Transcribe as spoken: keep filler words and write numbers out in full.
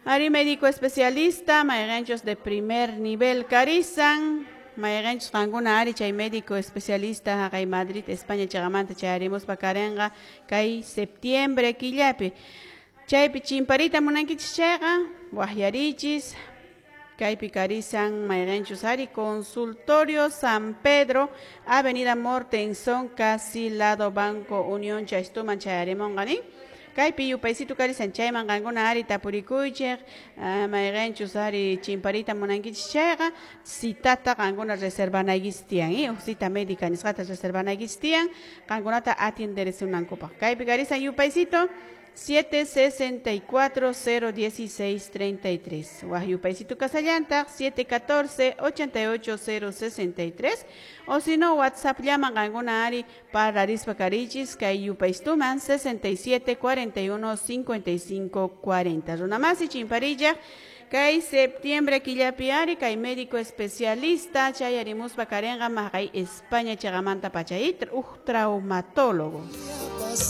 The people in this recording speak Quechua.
Ari médico especialista, mayqanchus de primer nivel karisan, mayqanchus qankuna ari chay médico especialista haqay Madrid, España chaqamanta chayarimuspa karinqa kay septiembre killapi. Chaypi chimparita munankichis chayqa, waqyarichis, kaypi karisan mayqanchus ari consultorio San Pedro, Avenida Mortenson, casi lado Banco Unión chaystuman chayarimunqa nin. Kaypi yupaysitu karisan chayman qankuna ari tapurikuychik, mayqanchus ari chimparita munankichis chayqa, citata qankuna reservanaykichis tiyan, eh? Huk cita médica nisqata reservanaykichis tiyan, qankunata atienderisunankupaq. Kaypi karisan yupaysito siete sesenta y cuatro cero dieciséis treinta y tres. Waq yupaysito kasallantaq siete catorce ochenta y ocho cero sesenta y tres. O si no, WhatsApp llaman qankuna ari parlarispa karichis kay yupaystuman sesenta y siete cuarenta y uno cincuenta y cinco cuarenta. Runamasi chimparilla kay septiembre killapi ari kay médico especialista chayarimuspa karinqa maqay España chaqamanta pachayitra uj traumatólogo.